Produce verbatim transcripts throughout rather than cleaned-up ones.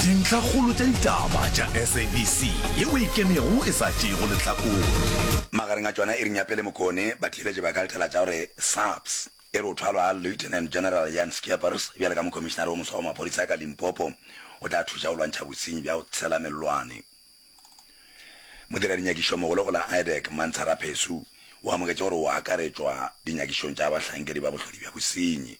Dintlhakgolo tša ditaba tša S A B C yeo e ikemego e sa tšeego lehlakore. Magareng a tšona iring ya pele Mokone, batheeletši ba ka letela tša gore SAPS e re o thwalwa ga Lieutenant General Jan Scheepers bjalo ka Mokhomišenare wo moswa wa maphodisa ka Limpopo o tla thuša go lwantšha bosenyi bja go tshela mellwane. Modiradinyakešomogolo go la IDAC Mantsha Raphesu o amogetše gore o akaretšwa dinyakišong tša bahlankedi ba bohlodi bja bosenyi.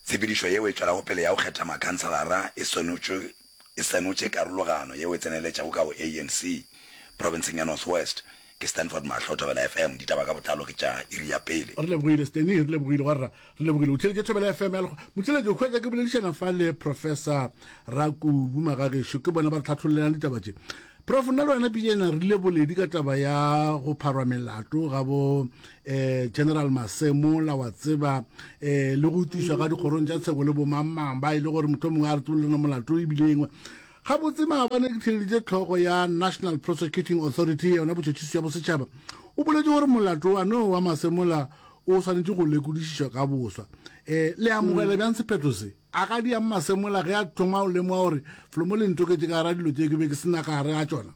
Tshepedišo yeo e tšwelago pele ya go kgetha makhanselara e senotšwe e senotše karologano yeo e tseneletšego ka go A N C profenseng ya North West. Ke Stanford Mahlo, Thobela F M, ditaba ka botlalo ke tša iri ya pele. Re lebogile, Steny, re lebogile gwarra, re lebogile. O theletše Thobela F M ya lekgo motšheletše o hwetša ke boledišana fa le Professor Rakubu Magagešo, ke bona ba re tlhathollelang ditaba tše. Prof, nna le wena pijana re ile boledi ka taba ya go pharwa melato ga bo um General Masemola, wa tseba, um le go utišwa ga dikgorong tša tsheko le bomangmang ba e le gore motho mongwe a re tsebolelana molato ebile engwe gabotse. Maabane ke theleditše tlhogo ya National Prosecuting Authority, yona botšhotšhisi ya bosetšhaba, o boletse gore molato wano wa Masemola o swanetše go lekodišišwa ka boswa. um le amogela bjang sephetho se? A ga di yang Masemola ge a thoma o lemoga gore folomo le ntoketse ka gara dilo tse ke be ke sena ka gare ga tšona?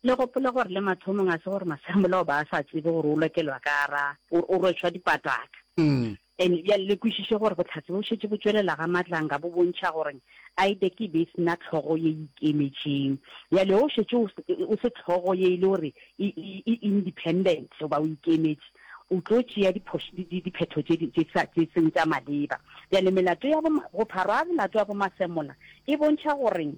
Le gopole gore le mathomong a se gore Masemola o ba a sa tsebe gore o lokelwa ka ra o o rwešwa dipataka. Mm. And bjale le kwešiše gore botlhatse bo šetše bo tšwelela ga Matlanga bo bontšha gore IDAC e be e sena tlhogo ye ikemetšeng. Bjale o šetše o se- o se tlhogo ye e le gore e e- e independent goba o ikemetše, o tlo tšea diphoš- di- di- diphetho tše di- tše sa- tše seng tša maleba. Bjale melato ya bo go pharwa ga melato ya boMasemola e bontšha gore le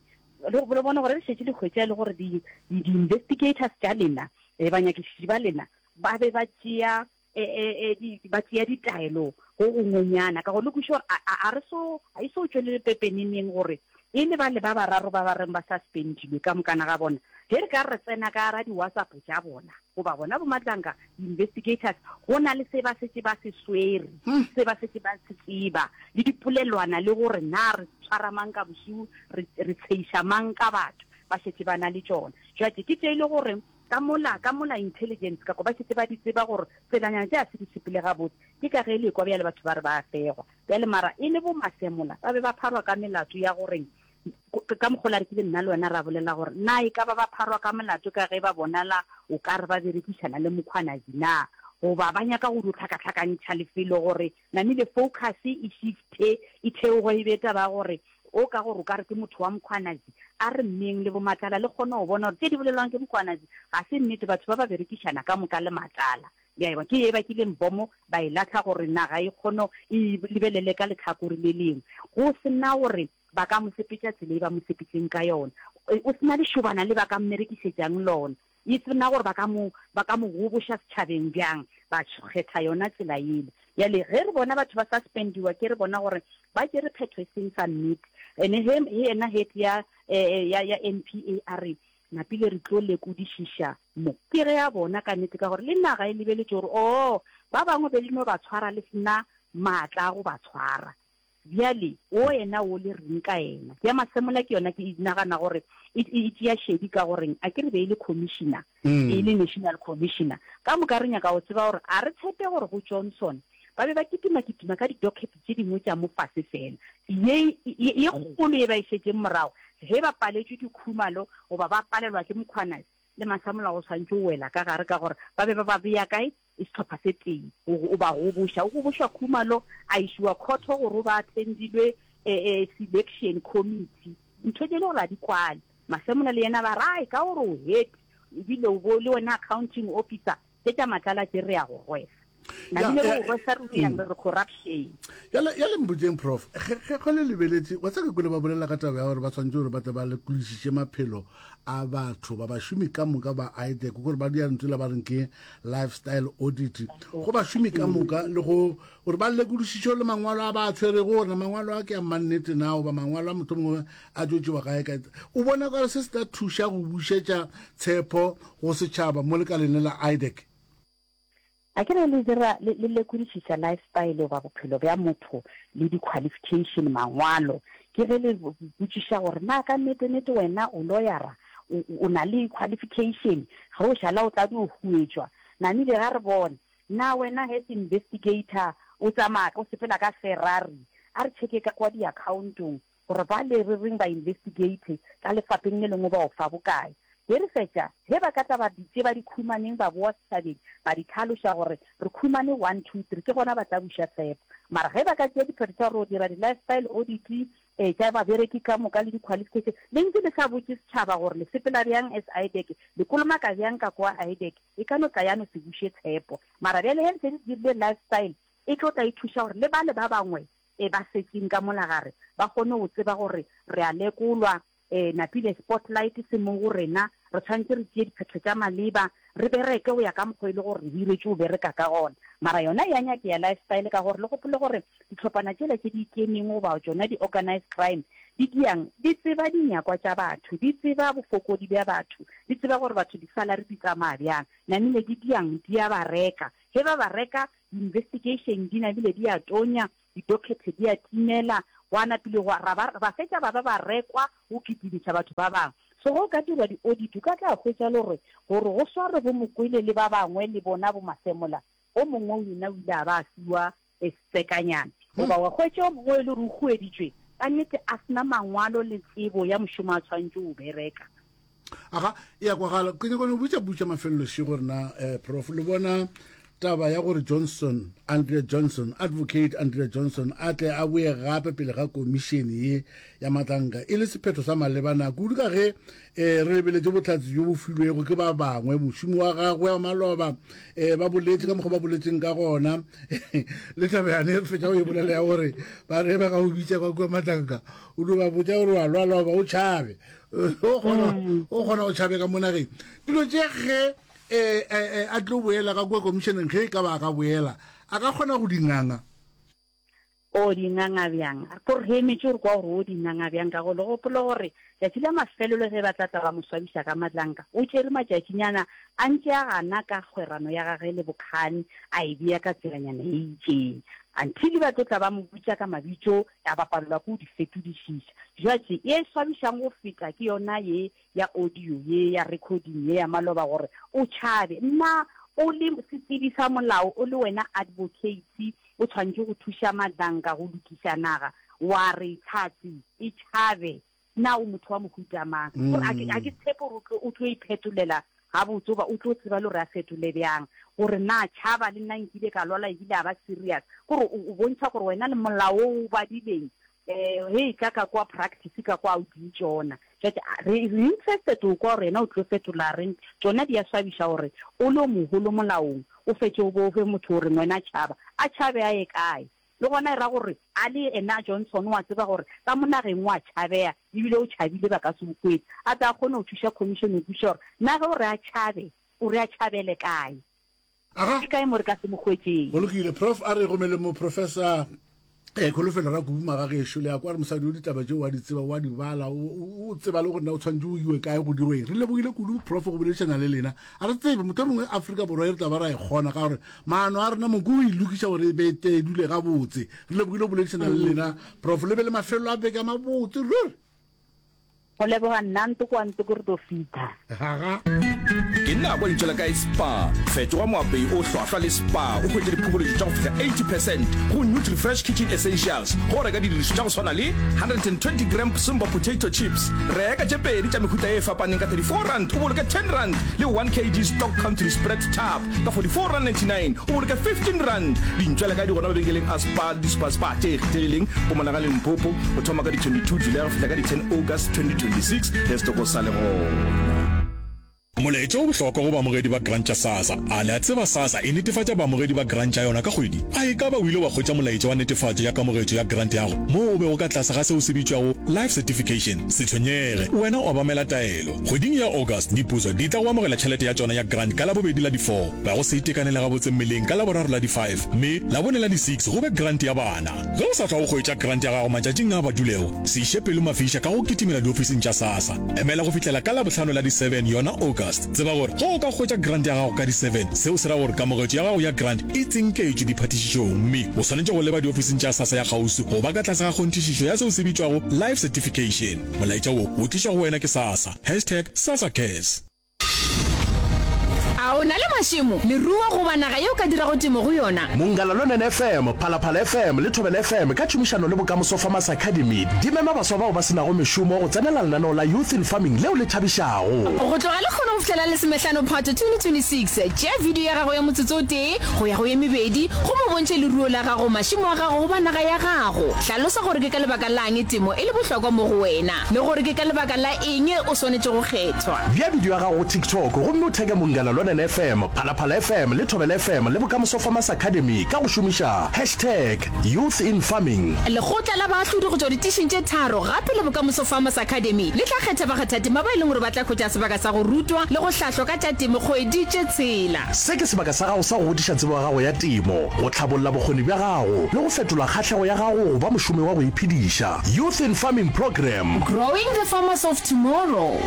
le bone gore le šetše le hwetša e le gore di- di- di-investigators tša lena, um banyakišiši ba lena ba be ba tšea e, e, e, di- ba tšea ditaelo go gongwenyana ka gore le kwešiše gore a- a a re so a e so tšwelele pepeneneng gore e le ba le ba bararo ba ba reng ba suspendilwe ka mokana ga bona. Ge re ka re tsena ka gara di-WhatsApp tša bona goba bona boMatlanka investigators, go na le se ba setse ba se swere, se ba setse ba se tseba le dipolelwana le gore na re tshwara mang ka bošiu, re re tsheiša mang ka batho, ba šetse ba na le tšona. Jwale ke tše e le gore ka mola ka mola intelligence ka ko ba šetse ba di tseba gore tselanyana tše a se di sepele gabotse. Ke ka ge le kwa bjale batho ba re ba fegwa bjale, mara e le bo Masemola ba be ba pharwa ka melato ya goreng ka mokgola re kile nna le wena ra bolela gore na e ka ba ba pharwa ka molato ka ge ba bonala o ka re ba berekišana le Mokgwanazi na, goba ba nyaka go dio tlhakatlhakantšha lefelo gore namile focus e shifte e theoge e be taba ya gore o ka gore o ka re ke motho wa Mokgwanazi. A re mmeng le boMatlala le kgone go bona gore tše di bolelwang ke Mokgwanazi ga se nnete, batho ba ba berekišana ka moka le Matlala. Bja ke e bakileng bomo ba e latlha gore naga e kgone e lebelele ka letlhakore le lengwe, go sena gore ba ka mo sepetša tsela e ba mo sepetseng ka yona, o sena lešobana le ba ka mmerekišetšang lona, e sena gore ba ka mo ba ka mo goboša setšhabeng bjang, ba kgetha yona tsela ele. Bjale ge re bona batho ba suspendiwa, ke re bona gore ba tšere phetho e seng sa nnete. Ene he yena head ya ya ya N P A a re napile re tlo lekodišiša mo, ke ge a bona ka nnete ka gore le naga e lebeletše gore o ba bangwe be le no ba tshwara le sena maatla a go ba tshwara. Bjale o yena o le reng ka ena ya Masemola? Ke yona ke nagana gore e e tšea šedi ka goreng a ke re be e le commissioner, e le national commissioner ka moka. Re nyaka go tseba gore a re tshepe gore go Johnson ba be ba kitima-kitima ka di-docket tše dingwe tša mo fase fela, ye ye kgolo ye ba e šetšeng morago ge ba paletšwe ke Khumalo goba ba palelwa ke Mokgwanasi le Masemola, go tshwanetse o wela ka gare ka gore ba be ba ba beya kae e setlhopha se tee o ba goboša, o gobošwa Khumalo a išiwa court gore o ba attendilwe um selection committee, ntho tše le gore a di kwale. Masemola le yena ba rae ka gore o head ebile o bo le wena accounting officer, tše tša Matlala tše re ya go rwesa nabile go rwesa re yang re re corruption. Yale yale mbotseng, Prof, ge ge le lebeletše wa tsaka kule ba bolela ka taba ya gore ba tshwanetse gore ba tle ba lekolišiše maphelo a batho ba bašomi ka moka ba IDAC, gore ba dia ntho la ba reng ke lifestyle audit go bašomi ka moka, le go gore ba lekodišiše le mangwalo a ba a tshwerego, gore mangwalo a ke a mannete na goba mangwalo a motho mongwe a tlo tšewa kae kae. O bona kare se se tla thuša go bušetša tshepo go setšhaba mo lekaleng le la IDAC? A ke re le dira le le lekodišiša lifestyle goba bophelo bja motho le di-qualification, mangwalo, ke ge le botšiša gore na ka nnete-nnete wena o lawyera, o na le qualification, ge o šala o tla dio huetšwa namile ga re bone na wena as investigator o tsamaya o sepela ka Ferrari. A re checke ka kwa di-accountong gore ba le re reng ba investigate ka lefapeng le lengwe ba o fa bokae. Ge re fetša, ge ba ka tla ba di tše ba di khumaneng ba boa setšhabeng ba di tlhaloša gore re khumane one, two, three, ke gona ba tla buša tshepo. Mara ge ba ka tšea diphetho tša gore o dira di-lifestyle audit eh, tša babereki ka moka le di-qualification, le ntše le sa botše setšhaba gore le sepela bjang as IDAC, le kolomaka bjang ka kwa IDAC, e ka no tla ya no se buše tshepo. Mara bjale ge le se le dirile lifestyle, e tlo tla e thuša gore le bale ba bangwe e ba setseng ka mola gare ba kgone go tseba gore re a lekolwa, e napile spotlight se mo go rena, re tshwanetse re tšee diphetho tša maleba, re bereke go ya ka mokgwa e le gore re hiretšwe go bereka ka gona. Mara yona ya nyakea lifestyle ka gore le gopole gore dihlophana tšela tše di ikemeng goba tšona di-organized crime di diang, di tseba dinyakwa tša batho, di tseba bofokodi bja batho, di tseba gore batho di-salary di tsamaya bjang, namile di diang, di a ba reka. Ge ba ba reka, di-investigation di namile di a tonya, di-docket di a timela, gwa napile gwa ra ba ba fetša ba ba ba rekwa go kitimiša batho ba bangwe. So ge o ka dirwa di-audit o ka tla hwetša le gore gore go swarwe bo Mokwele le ba bangwe le bona bo Masemola, o mongwe yena o ile a ba a fiwa setsekanyana. Goba wa hwetša o mongwe e le gore o hueditšwe ka nnete a sena mangwalo le tsebo ya mošomo a tshwanetše go bereka. Aga, e ya kwagala. Ke nyaka go botša botša mafelelo šego rena eh, Prof. Le bona taba ya gore Johnson, Andrea Johnson, Advocate Andrea Johnson a tle a boye gape pele ga komišene ye ya matlanka e le sephetho sa malebana kudu ka ge eh, re lebeletše bohlatse bjo bo filwego ke ba bangwe mošomi wa gagwe wa maloba eh, ba boletše ka mokgwa ba boletseng ka gona le taba yane re fetša go e bolela ya gore ba re ba ga o bitša kwa kua matlanka o no ba botša gore wa lwala goba o tšhabe o kgona o kgona go tšhabe ka mo nageng dilo tše ge eh, eh, a tlo boela ka kua komišeneng ge e ka ba a ka boela a ka kgona go di nganga O di nganga bjang? Ko re emetše gore kwa gore o di nganga bjang ka go le gopole gore tšatši la mafelelo ge ba tla tla ba mo swabiša ka matlanka o tšere matšatšinyana a ntše a gana ka kgwerano ya gage le bokgani a e bea ka tselanyana e itšeng until ba tlo tla ba mo botša ka mabitso a ba palelwa ke go di fetodišiša. Jwatše ye e swabišang go feta ke yona ye ya audio ye ya recording ye ya maloba gore o tšhabe. Nna o le setsebi sa molao o le wena advocate o tshwanetše go thuša Madlanka go lokiša naga wa re tlhatse e tšhabe na o motho wa mohuta mang? Gore a ke a ke tshepe gore o tlo o tlo iphetolela gabotse goba o tlo tseba le gore a fetole bjang gore na tšhaba le nna nkile ka lwala ebile a ba serious kore o bontšha gore wena le molao o o badileng eh he tla ka kwa practice ka kwa o di tšona jwale re re interested o kwa gore yena o tlo fetola reng tšona di a swabiša gore o le o mogolo molaong o fetše o bo o fe motho o reng wena tšhaba a tšhabe a ye kae le gona e ra gore a le ena Johnson wa tseba gore ka mo nageng wa tšhabeya ebile o tšhabile ba ka se o hwetše a tla kgone go thuša commission go kwešiša gore na ge o re a tšhabe o re a tšhabele kae Aga. ke kae mo re ka se mo hwetšeng. Go lokile Prof a re gomele mo Professor eh Kholofelo Rakubu magagešo le ya kwa re mosadi o ditaba tšeo wa di tseba wa di bala o o tseba le gore na o tshwanetse o iwe kae go dirweng re lebogile kudu Prof go boledišana le lena a re tsebe motho mongwe Afrika Borwa e re tla ba ra e kgona ka gore maano a rena moko o e lokiša gore e be te e dule gabotse re lebogile go boledišana le lena Prof le be le mafelelo a beke a mabotse ruri. Go leboga nna ntoko wa ntoko re tlo fitha. Aga. Ke nako ya dintšo la kae Spar. Fetoga moapei o hlwahlwa le Spar o hwetše diphokoletšo tša go fihla eighty percent go Nutrifresh Kitchen Essentials go reka didirišo tša go swana le one hundred and twenty gram Simba potato chips, reka tše pedi tša mehuta ye e fapaneng ka thirty four rand o boloke ten rand le one kg Stock Country Spread Tub ka forty four rand ninety nine o boloke fifteen rand. Dintšo la kae di gona mabenkeleng a Spar le di-Spar Spar tše kgethegileng Mpumalanga le Limpopo go thoma ka di twenty two July go fihla ka di ten August twenty twenty six ge setoko sa le gona. Molaetša o bohlokwa go baamogedi ba grant tša SASSA. A le a tseba SASSA e netefatša baamogedi ba grant tša yona ka kgwedi? A e ka ba o ile wa hwetša molaetša wa netefatšo ya kamogetšo ya grant ya go moo o bego ka tlase ga seo se bitšwago Life Certification? Se tshwenyege, wena obamela taelo. Kgweding ya August, diputso di tla go amogela tšhelete ya tšona ya grant ka Labobedi la di four, ba go se itekanele gabotse mmeleng ka Laboraro la di five, mme Labone la di six go be grant ya bana. Ge o sa tšwa go hwetša grant ya gago matšatšing a badulego, se iše pelo mafiša ka go kitimela diofising tša SASSA. Emela go fihlela ka Labohlano la di seven yona August. Tseba gore ge o ka hwetša grant ya gago ka di seven, seo se ra gore kamogetšo ya gago ya grant e tsinketšwe diphatišišong mme o swanetše go leba diofising tša SASSA ya kgauswi go ba ka tlase ga kgonthišišo ya seo se bitšwago Life Certification. Molaetša wo o tlišwa go wena ke SASSA. Hashtag SASSA Cares. A o na le mašemo, leruo goba naga ye o ka dirago temo go yona? Munghana Lonene F M, Phalaphala F M le Thobela F M ka tšhomišano le Bokamoso Farmers Academy di mema baswa bao ba se nago mešomo go tsenela lenaneo la Youth in Farming leo le thabišago. Go tloga lehono go fihlela lesomehlano Phato twenty twenty-six, tšea video ya gago ya motsotso o tee go ya go ye mebedi gomme o bontšhe leruo la gago, mašemo a gago goba naga ya gago. Hlalosa gore ke ka lebaka la'ng temo e le bohlokwa mo go wena le gore ke ka lebaka la eng o swanetše go kgethwa. Bea bidio ya gago go TikTok gomme o theke Munghana Lonene F M, Phalaphala F M le Thobela F M le Bokamoso Farmers Academy ka go šomiša hashtag YouthInFarming. Lekgotla la baahlodi go tšwa ditišing tše tharo gape le Bokamoso Farmers Academy le tla kgetha bakgathatema ba e leng gore ba tla hwetša sebaka sa go rutwa le go hlahlwa ka tša temo kgwedi tše tshela. Se ke sebaka sa gago sa go godiša tsebo ya gago ya temo, go hlabolla bokgoni bja gago le go fetola kgahlego ya gago go ba mošomi wa go iphediša. Youth in Farming Programme. Growing the farmers of tomorrow.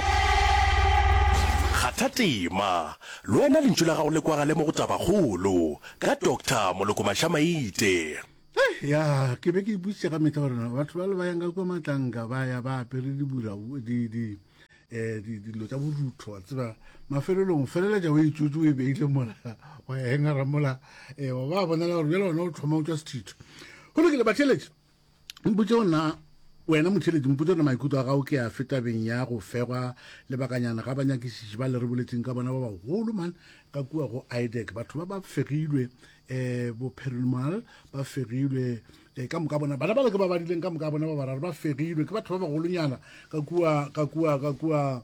Kgatha tema, le wena lentšu la gago le kwagale mo go Tabakgolo, ka Doctor Moloko Mashamaite. Hei, ya, ke be ke ipotšiša ka mehla gore na batho ba le ba yang ka kua Matlanka ba ya ba apere dibura, di, di, eh, di, dilo tša borutho, wa tseba, mafelelong o feleletša o e tšotše o e beile mola, wa e hengera mola, eh, wa ba bonela gore bjale wena o thoma o tšwa sethitho. Go lokile, batheeletši, mpotše gore na wena motheeletši, mpotše gore maikutlo a gago ke afe tabeng ya go fegwa lebakanyana ga banyakišiši ba le re boletseng ka bona ba bagolo man ka kua go I D E C. Batho ba ba fegilwe, eh, bo Perumal ba fegilwe, eh, ka moka bona, bana ba le ke ba badileng ka moka bona ba bararo ba fegilwe ke batho ba bagolonyana ka kua, ka kua, ka kua,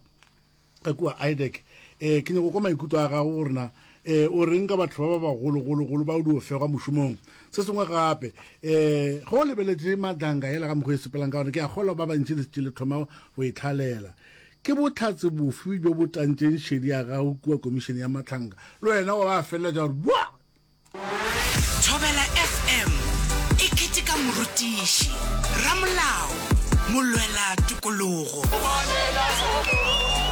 ka kua I D E C. Eh, ke nyako kwa maikutlo a gago gore na, eh, o reng ka batho ba ba bagologologolo ba o dio fegwa mošomong. Se sengwe gape, eh, ge o lebeletše Madlanga yela ka mokgwa e sepelang ka gona, ke a kgolwa ba bantši le šetše le thoma go e tlhalela. Ke bohlatse bofe bjo bo tantšeng šedi ya gago kua komišene ya Matlhanka? Le wena wa ba feleletša gore bua! Thobela F M e keteka morutiši, ramolao, molwela tokologo,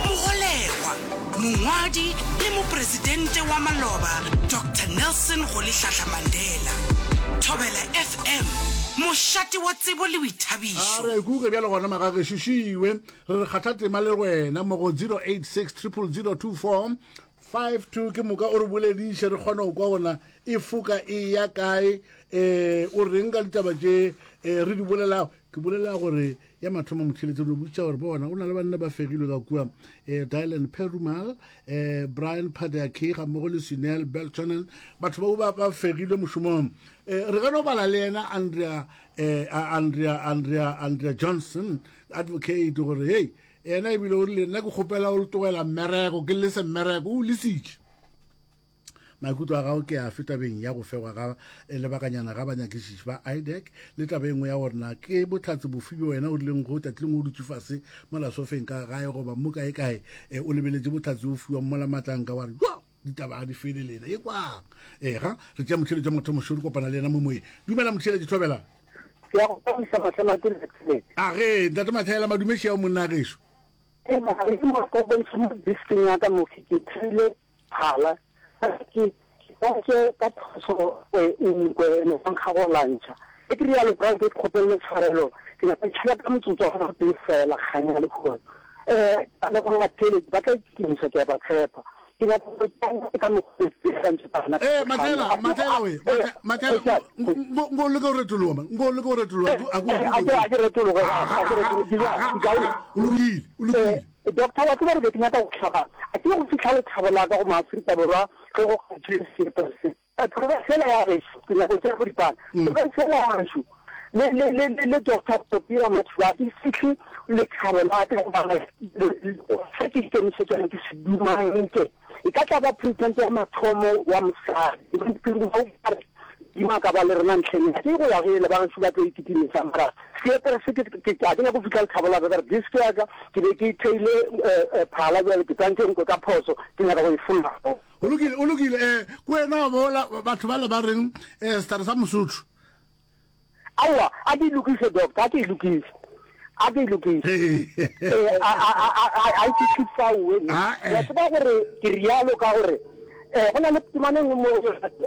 mogolegwa, mongwadi le mopresidente wa maloba Doctor Nelson Rolihlahla Mandela. Thobela F M, mošate wa tsebo le boithabišo. A re kuke bjalo gona magagešo šiwe, re re kgatha tema le wena mo go zero eight six triple zero two four five two ke moka o re bolediše re kgone go kwa gona e foka e ya kae, eh, o reng ka ditaba tše, eh, re di bolelago. Ke bolela gore ya mathomo motheeletši re botša gore bona o na le banna ba fegilwe ka kua, eh, Dylan Perumal, eh, Brian Padaki ga mmogo le Sunel Beltonen, batho bao ba, ba fegilwe mošomong. Eh, re ka no bala le yena Andrea, eh, Andrea, Andrea, Andrea Johnson advocate gore hey, yena ebile o rile nna ke kgopela o tlogela mmereko, ke lese mmereko, o lesitše. Maikutlo a gago ke afe tabeng ya go fegwa ga lebakanyana ga banyakišiši ba I D E C le taba e nngwe ya gore na ke bohlatse bofe bjo wena o rileng go tšatši lengwe o dutše fase mola sofeng ka gae goba mo kae kae, eh, o lebeletše bohlatse o fiwa mola Matlanka wa re jo ditaba ga di fele lena e kwang. Eh, ga re tšea motheeletši wa mathomo šo re kopana le yena mo moyeng. Dumela motheeletši Thobela. Ke ya go tsamaisa Mahlamathi le Thelete. A ge ntate Mathela madumeši ao monna gešo. Eh, mara ke mo go bontšha mo diskeng ya ka mo ke thile phala. Ke ke ka phoso e nkwe no nkga go lantšha. Ke re ya le bra ke kgopelle tshwarelo. Ke nyaka tšhela ka motsotso wa go tee fela kganya le khona. Eh, le go la tele ba tla itumisa ke ba tshepa. Ke nyaka go tsena ka mokgwa o ke ntse bana. Eh, Mathela, Mathela we, Mathela, ngo ngo le go retologa man. Ngo le go retologa. A go a ke a ke retologa, a ke retologa. O lokile, o lokile. Doctor wa tseba gore ke nyaka go hlaba. A ke go fihla lethabo la ka go Maafrika Borwa ge go kgethile seepe se. Province fela ya gešo, ke nyaka go tšea boripana. Province fela ya gešo, le, le, le, le, le Doctor Topira Mothuba, ke fihle lethabo la ka goba se ke ikemišetšang ke se dumanke. E ka tla ba president ya mathomo wa mosadi. Dima ka ba le rena ntlheng ya ke go ya ge le ba gešo ba tlo ikitimisa mara seepe se ke ke ke nyaka go fihla lethabo la ka ka re disk ya ka ke be ke theile, eh, eh, phala bjale ke tsantše nkwe ka phoso ke nyaka go e fologa. O lokile, o lokile, eh, ke wena wa bola batho ba le ba reng, eh, sehlare sa Mosotho. Aowa, a ke e lokiše doctor, a ke e lokiše. A ke e lokiše. Eh, a, a, a, a, a, a e fihle fao, we. Ah, eh. Wa tseba gore ke rialo ka gore, eh, go na le temana e nngwe mo,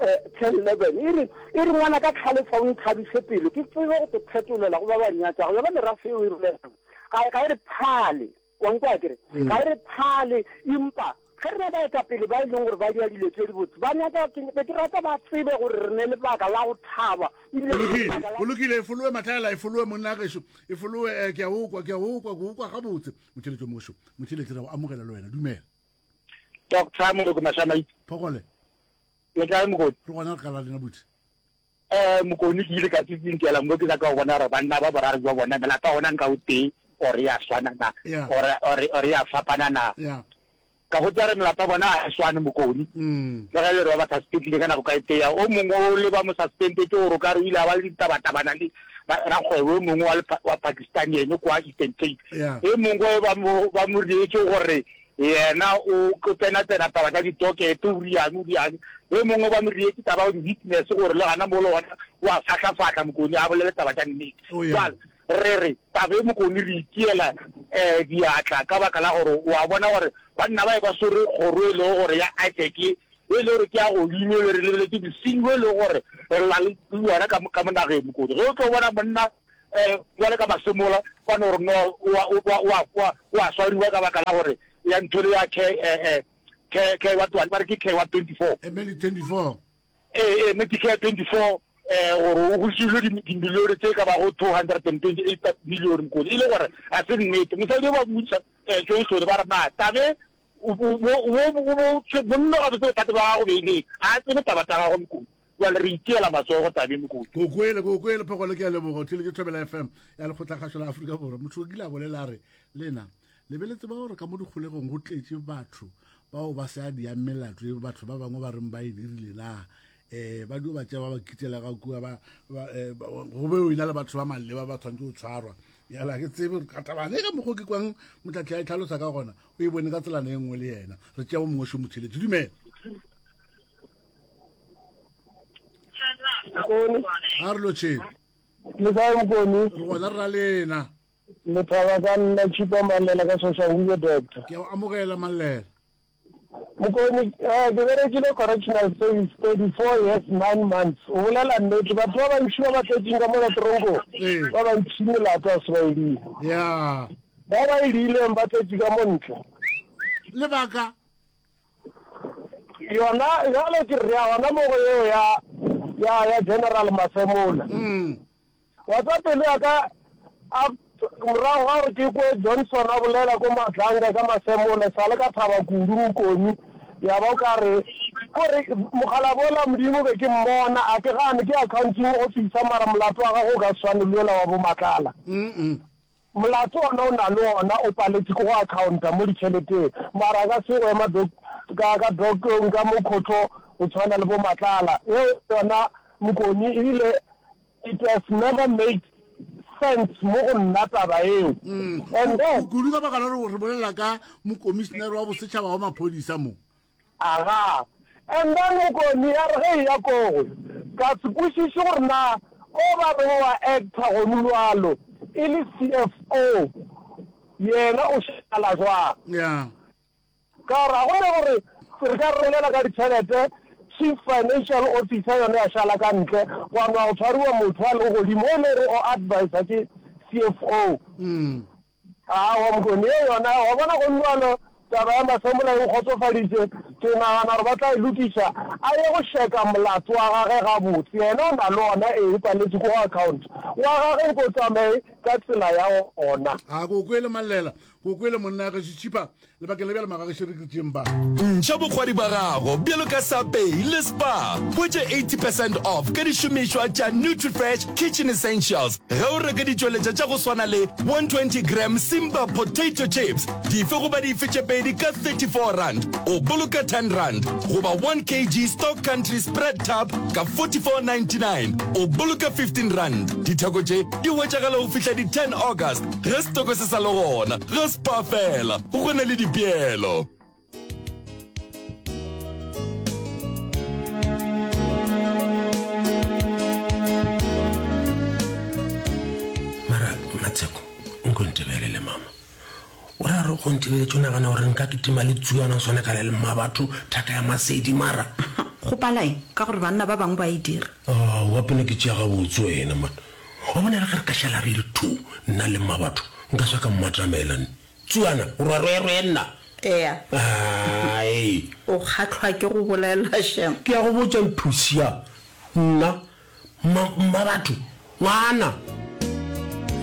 eh, ten eleven, e re, e re ngwana ka tlhalefa o nthabiše pelo, ke tsebe go te phetolela go ba ba nyatšago. Yona merafe eo e rulegang. Ga, ga e re phale, wa nkwa ke re? Mm. Ga e re phale, empa Ge re na baetapele ba e leng gore ba dira dilo tše dibotse, ba nyaka, ke be ke rata ba tsebe gore re ne lebaka la go thaba, ebile Go re ne lokile, lebaka la. go lokile, e folowe Matlaela, e folowe monna gešo, e folowe, eh, ke a o kwa, ke a o kwa, ke o kwa gabotse. Motheeletši o mošo, motheeletši re a go amogela le wena, dumela. Doctor Moloko Mashamaite. Phogole. Le kae Mokoni? Re gona re kala lena buti. Eh Mokoni ke ile ka tsitsinkela mo ke nyaka go bona gore banna ba boraro jwa bona melapa ona nka o tee or ya swana na or or or ya fapana na. Ka go tsare melapa bona a e swane Mokoni. Le ge e le gore ba ba suspendile ka nako ka e tee o mongwe o le ba mo suspendetse gore o ka re o ile a ba le ditabatabana le rakgwebo o mongwe wa wa Pakistan ene kwa Eastern Cape. E mongwe ba mo ba mo reetse gore Yena o o tsena-tsena taba tša ditokete, o riane, o riane. Yo mongwe ba mo rietše taba ya di-witness gore le gana mo le gona o a fahlafahla, Mokoni a bolele taba tša nnete. Oh, yeah. Bjale re re taba e Mokoni re itiela um diatla ka baka la gore o a bona gore banna ba e ba swere kgoro e lego gore ya ISAC e le gore ke ya godimo e le re lebeletše bosenyi bo e lego gore re na le yona ka mo ka mo nageng Mokoni. Ge o tlo bona monna um bjale ka Masemola ba no re no o a o a o a o a o a swariwa ka baka la gore ya ntho le ya care eh eh care care wa twenty ba re ke care wa twenty four. Eh, Medi twenty four. Eh eh Medicare twenty four eh gore o gosile dimilione tse ka bago two hundred and twenty eight million Mokoni e le gore ga se nnete. Mosadi o ba mmotšiša eh Johnson ba re na tabe o o o o monna gabotse bothata ba gago be e le ga a tsebe taba tsa gagwe Mokoni. Bjale re itiela matsogo tabeng Mokoni. Ke o kwele, ke o kwele Phogole, ke a leboga. O theeletše Thobela F M ya Lekgotlakgašo la Afrika Borwa. Motho o kile a bolela a re, Lena, le be le tseba gore ka mo dikgolegong go tletše batho bao ba sa diang melato e batho ba bangwe ba reng ba e dirile na? Um ba dio ba tšea ba ba kitela ka kua, ba, ba, eh, ba, go be o ena le batho ba maleba ba tshwanetse go tshwarwa. Bjale ga ke tsebe gore ka tabane ka mokgwa o ke kwang Motlatli a e tlhalosa ka gona, o e bone ka tselana e nngwe le yena. Re tšea o mongwe šo motheeletši. Dumela. Mokoni. A re lotšheng. Le kae Mokoni? Re gona re ra lena. Le thaba ka nna Chipa Mallela ka Soshanguve Doctor. Ke a o amogela Mallela. Mokoni, eh, ke berekile correctional service thirty four years nine months. O bolela nnete, batho ba bantši ba ba tletšeng ka mola toronkong, Ee. ba bantši melato a se ba e dira. Ya. Ba ba e diileng ba tletše ka mo ntle. Lebaka? Yona bjale ke re ya gona mo go yeo ya ya ya General Masemola. Mm. Wa tseba pelo ya ka a morago ga gore ke kwe Johnson a bolela ko Matlanga ka Masemola sa le ka thaba kudu Mokoni ya ba o ka re kore mokgalabje ola Modimo be ke mmona a ke gane ke accounting officer mara molato wa gagwe o ka se swane le ola wa bo Matlala. Mm. Molato ona o na le ona o paletše ke go accounta mo ditšheleteng mara a ka se go ema doc ka ka docong ka mo khotho go tshwana le bo Matlala yeo yona Mokoni ebile it has never made sense mo go nna taba eo and then Kudu ka baka la gore re bolela ka mokomišenere wa bosetšhaba wa maphodisa mo. Aga. And then Mokoni ya re ge eya kogwe ka se kwešiše gore na o ba reng wa actor gonu bjalo e le C F O yena o šala jwang. Yeah. Ka gore ga go ne gore re ka re bolela ka ditšhelete Chief Financial Officer yona ya šala ka ntle gwa nwa go tshwariwa motho a lego godimo o e le gore o advisor ke C F O. Mm. Aowa Mokoni ye yona wa bona go bjalo taba ya Masemola e nkgotsofaditše ke nagana gore ba tla e lokiša a ye go šeka molato wa gage gabotse yena o na le ona ee o paletše ko go account wa gage nko tsamaye ka tsela ya ona. A ko kwele Mallela, ko kwele monna gešo Tšhipa, lebakeng la bjale magagešo re ke tšeng ba. Ntšha bokgwari ba gago bjalo ka Sapei le Spar. Hwetša eighty percent off ka dišomišwa tša Nutrifresh Kitchen Essentials ge o reka ditšweletša tša go swana le one twenty gram Simba potato chips dife goba dife tše pedi ka thirty four rand, o boloka ten rand, goba one kg Stock Country Spread Tub ka forty four ninety nine, o boloka fifteen rand. Ditheko tše di hwetšagala go fihla di ten August ge setoko se sa le gona. Ga Spar fela go na le dipeelo. Mara Matsheko, nko ntebelele mama. O ra re go ntebeletše o nagana gore nka kitima le tsuana o swane ka le le mmabatho thaka ya masedi mara. Go pala eng? Ka gore banna ba bangwe ba e dira. Aowa pele ke tšea gabotse wena man. Wa bona le ge re ka šala re le two nna le mmabatho nka swa ka mmatamela nne. Tsuana, o rwarwerwe nna. Ea. Ai. O kgahlwa ke go bolela shem. Ke a go botša Mphusia, nna, mma, mma batho, ngwana.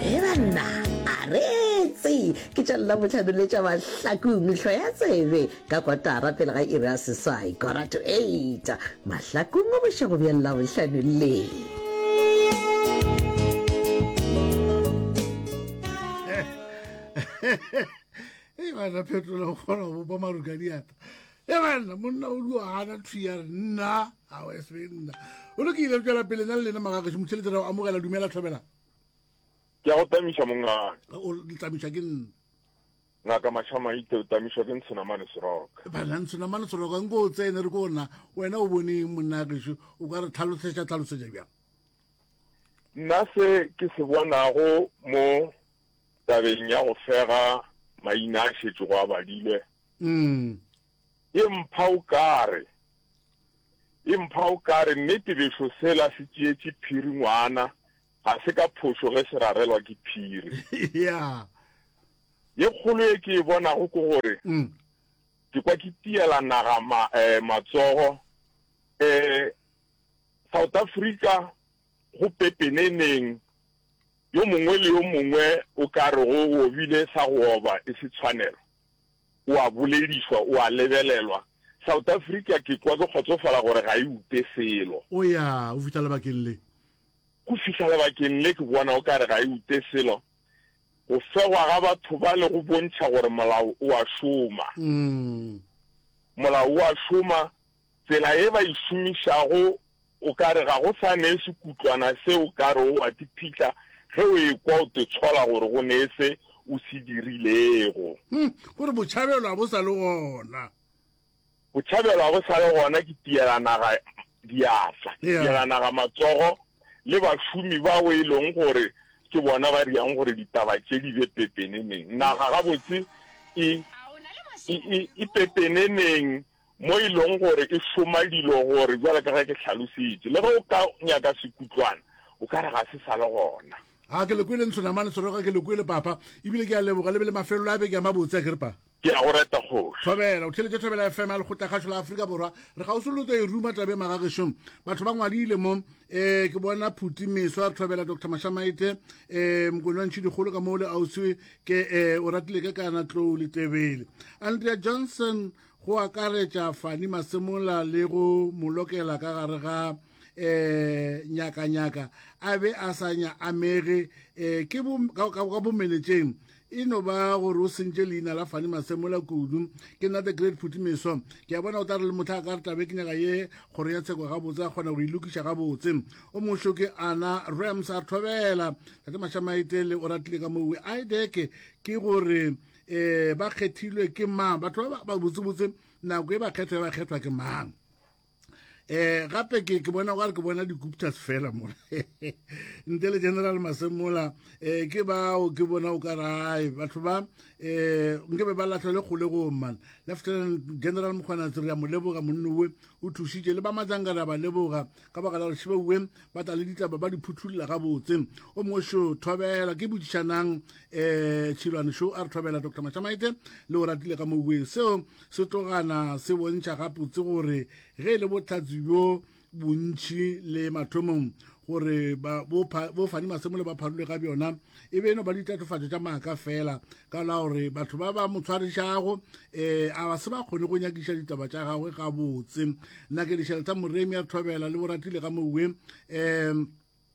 He banna, a reetse! Ke tša Labohlano le tša Mahlakong, hloya tsebe ka kotara pele ga iri ya seswai, quarter to eight, Mahlakong bošego bja Labohlano le. Ei banna phetola o kgona go bopa maru ka diatla. E banna monna o dio gana thwi ya re nna a o se nna. O lokile tšwela pele nna le lena magagešo motšheletše ra o amogela dumela thobela. Ke a go tamiša mongaka. O tamiša ke nna. Ngaka Mashamaite o tamišwa ke Ntshonamane Seroka. Banna Ntshonamane Seroka nko o tsene re ko nna wena o boneng monna gešo o ka re tlhalosetša tlhalosetša bjang. Nna se ke se bonago mo tabeng ya go fega maina a šetšego a badilwe, Mm. e mpha o kare, e mpha o kare nnete bešo sela se tšeetše phiri ngwana, ga se ka phošo ge se rarelwa ke phiri. Yeah. Ye kgolo ye ke e bonago ke gore Mm. ke kwa ke tiela naga ma, eh, matsogo, eh, South Africa go pepeneneng yo mongwe le yo mongwe o ka rego o obile sa go oba e se tshwanelo, o a boledišwa, o a lebelelwa. South Africa ke kwa ke kgotsofala gore ga e ute selo. O ya, go fihla lebakeng le. Go fihla lebakeng le ke bona o ka re ga e ute selo. Go fegwa ga batho bale go bontšha gore molao o a šoma. Molao o a šoma, tsela ye ba e šomišago o ka re ga go sa ne sekutlwana se o ka re o a te phihla ge o ekwa o te tshola gore go ne se o se dirilego. Hm, gore botšhabelo ga bo sa le gona. Botšhabelo ga bo sa le gona, ke tiela naga diatla, ke Yeah. tiela naga matsogo le bašomi bao e leng gore ke bona ba riang gore ditaba tše di be pepeneneng. Naga gabotse e, e, e, e pepeneneng mo e leng gore e šoma dilo gore bjalo ka ge ke hlalositše, le ge o ka nyaka sekutlwana, o ka re ga se sa le gona. A ke le kwele Ntshonamane Soroka, ke le kwele papa, ebile ke a leboga le be le mafelelo a beke a mabotse, a ke re pa. Ke a go reta kgoši. Thobela, o theletše Thobela F M ya Lekgotlakgašo la Afrika Borwa. Re kgauswi le tlo e ruma taba e magagešong. Batho ba ngwadile mo, eh, ke bona Phuti Meswa, re thobela Doctor Mashamaite, eh, Mokone wa Ntšhidikgolo ka mo le ausi ke, eh, o ratile ke kana Tlou le Tebele. Andrea Johnson go akaretša Fani Masemola le go mo lokela ka gare ga, eh, nyakanyaka a be a sa nya amege, eh, ke bo, ka, ka, ka bomenetšeng. E no ba gore o sentše leina la Fani Masemola kudu. Ke nna the great Phuti Meso. Ke a bona o tla re le motho a ka re tabe ke nyaka ye kgoro ya tsheko gabotse a kgona go e lokiša gabotse. O mošo ke Anna Rams a thobela. Tate Mashamaite le o ratile ka mowe. I D E C ke gore, eh, ba kgethilwe ke mang? Batho ba ba botsebotse nako e ba kgethwa, ba kgethwa ke mang? Eh, gape ke, ke bona gore ke bona di-Guptas fela mo. Ntle le General Masemola, eh, ke bao ke bona o ka rae. Batho ba, eh, nke be ba lahlelwe kgolegong, man. Lieutenant General Mkhwanazi re a mo leboga monnowe, o thušitše le ba Matlanga re a ba leboga ka baka la gore šebeuwe ba tla le ditaba ba di phuthulla gabotse. O mongwe šo thobela ke botšišanang, eh, Tšhilwane šo a re thobela Doctor Mashamaite le o ratile ka mowe. Seo se tlogana se bontšha gabotse gore ge e le bohlatse bjo bontši le mathomong gore ba, bo pha-, bo Fani Masemola ba pharule ga bjona, e be e no ba ditatofatšo tša maaka fela ka la gore batho ba ba mo tshwarišago, eh, a ba se ba kgone go nyakiša ditaba tša gagwe gabotse. Nna ke dišela tsa Moremi a thobela le boratile ga mowe, eh,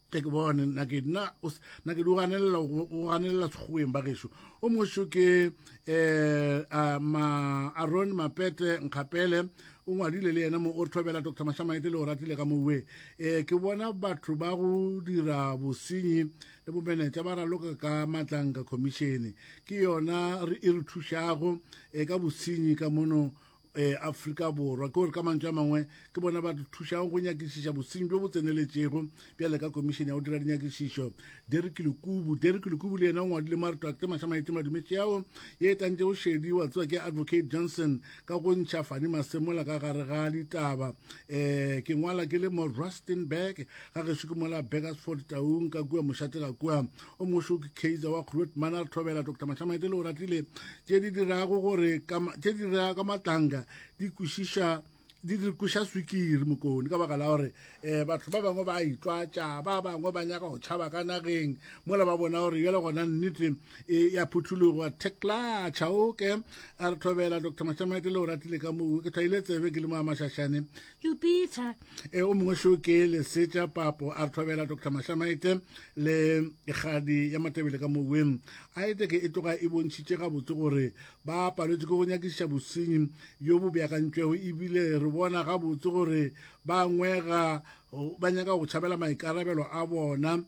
ke ke bone, nna ke, nna o s-, nna ke di o ganelela, o, o ganelela sekgoweng ba gešo. O mongwe šo ke, eh, a, ma, Aaron Mapete Nkgapele, o ngwadile le yena mo, o re thobela Doctor Mashamaite le o ratile ka mowe. Eh, ke bona batho ba go dira bosenyi le bomenetša ba raloka ka Matlanka Commission. Ke yona re, e re thušago, eh, ka bosenyi ka mono eh, Afrika Borwa. Ke gore ka mantšu a mangwe ke bona ba re thušago go nyakišiša bosenyi bjo bo tseneletšego bjale ka komišene ya go dira dinyakišišo. Derek Lekubu Derek Lekubu le yena o ngwadile mo a re Tate Mašamaite Madumetše yao ye e tantšego šedi wa tseba ke Advocate Johnson ka go ntšha Fanny Masemola ka gare ga ditaba. Eh, ke ngwala ke le mo Rustenburg ga gešo ke mola Burgersfort Taung ka kua mošate ga kua. O mongwe ke Kaizer wa Grootman a re thobela Doctor Mašamaite le o ratile tše di dirago gore tše di dirago ka matlanka di kwešiša di di kweša swikiri mokone ka baka la gore um batho ba bangwe ba itlwatša ba bangwe ba nyaka go tšhaba ka nageng mola ba bona gore jale gona nnete e ya phuthologo theklatšha oke a re thobela Doctor Mašamaite le o ratile ka moo ke tlwaile tsebe ke le mo a mašašane Jupiter e o mongwe šo ke lesetša papo a re thobela Doctor Mašamaite le kgadi ya matebele ka moweng a ete ke e tloga e bontšhitše gabotse gore ba paletswe ke go nyakišiša bosenyi bjo bo beakantšwego ebile re bona gabotse gore ba ngwega ba nyaka go tšhabela maikarabelo a bona. Um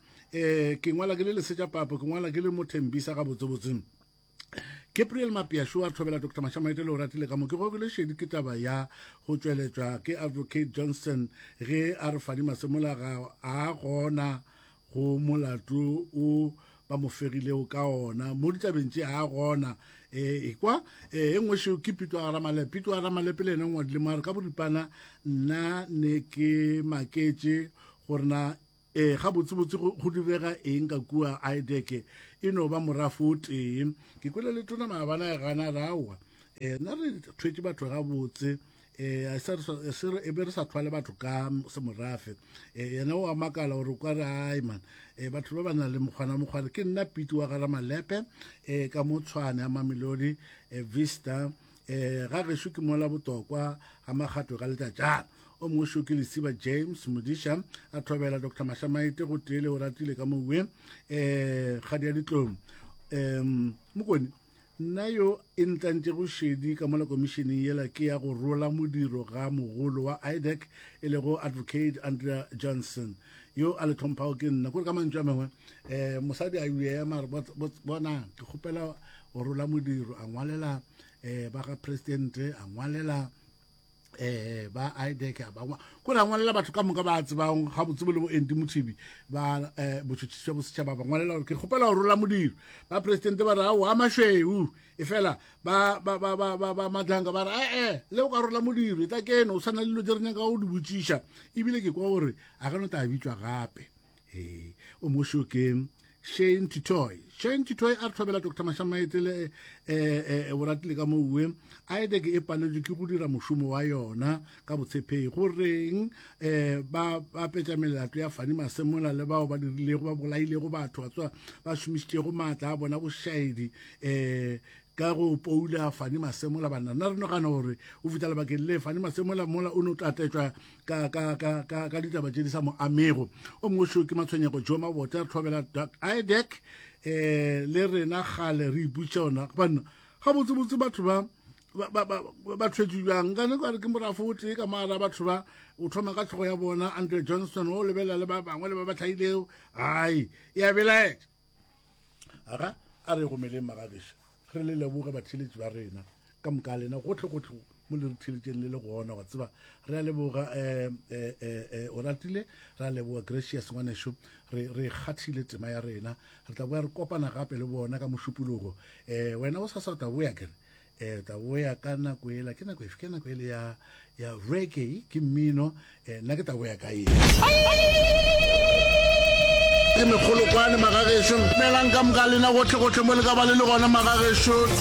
ke ngwala ke le lesetša papo ke ngwala ke le mothembisa gabotsebotse. Gabriel Mapiasho a thobela Doctor Mašamaite le o ratile ka mo ke gogile šedi ke taba ya go tšweletšwa ke Advocate Johnson ge a re Fanny Masemola ga a gona go molato o ba mo fegilego ka ona mo ditabeng tše a gona. E kwa e nngwe šeo ke Pito a Ramalepe. Pito a Ramalepe le yena o ngwadile mo a re ka boripana nna ne ke maketše gore na e gabotsebotse go direga eng ka kua IDEC e no ba morafo o tee. Ke kwele le tona maabana e gana rawa e nna re thwetše batho gabotse e e be re sa thwale batho ka semorafe. Yena o a makala gore o ka re ai man e batho ba ba nang le mokgwana mokgwana. Ke nna Piti wa Garamalepe e ka mo Tshwane ya Mamelodi Vista e ga gešo ke mola botokwa ga makgato ka letšatšana. O mongwe šo ke Lesiba James Modiša a thobela Doctor Mašamaite go tee le o ratile ka mowe um kgadi ya ditlong. Um mokone nna yo e ntlantšego šedi ka mola komišeneng yela ke ya go rola modiro ga mogolo wa IDEC e lego Advocate Andrea Johnson yo a le tlhomphago ke nna. Kore ka mantšu a mangwe um mosadi a ema re bona ke kgopela go rola modiro a ngwalela um ba ga presidente a ngwalela eh ba IDEC ba ko ra ngwalela batho ka moka ba tsebang ga botsebo le bo Andy Mothibi ba eh botšhotšhisi bja bosetšhaba ba ngwalela gore ke kgopela go rola modiro. Ba presidente ba re ao a mašweu e fela ba ba ba ba ba ba Madlanga ba re eh le o ka rola modiro e tla keno o sana le dilo tse re nyaka go di botšiša ebile ke kwa gore a ka no tla bitšwa gape. Eh o mošo ke Shane Titoy. Shane Titoy a re thobela Doctor Mašamaite le eh eh o ratile ka mowe IDEC e paletswe ke go dira mošomo wa yona ka botshepegi go reng eh ba ba petša melato ya Fanny Masemola le bao ba dirilego ba bolailego batho ba tswa ba šomišitšego maatla a bona bošaedi eh ka go poula Fanny Masemola banna. Nna re nagana gore o fihla lebakeng le Fanny Masemola mola o no tatetšwa ka ka ka ka ka ditaba tše di sa mo amego. O mongwe šo ke Matshwenyego Joe Mabote a re thobela IDEC eh le rena kgale re iputša ona banna gabotsebotse batho ba ba ba ba thwetše bjang ka ne ka re ke morafo o tee ka mara batho ba o thoma ka tlhogo ya bona Andre Johnson o lebelela le ba bangwe le ba ba tlhailego ai ya belaetša. Aga a re gomeleng magageša re le leboge batheeletši ba rena ka moka lena gotlhe gotlhe mo le re theeletšeng le le gona wa tseba re a leboga um o ratile re a leboga Gracious ngwanešo re re kgathile tema ya rena re tla boya re kopana gape le bona ka mošupologo. Um wena o sasa o tla boya kere um tla boya ka nako ela ke nako efe ke nako ele ya ya reggae ke mmino um nna ke tla boya ka eng ke megolokwane magagešo melang ka moka lena gotlhe gotlhe mo le ka ba le le gona magagešo.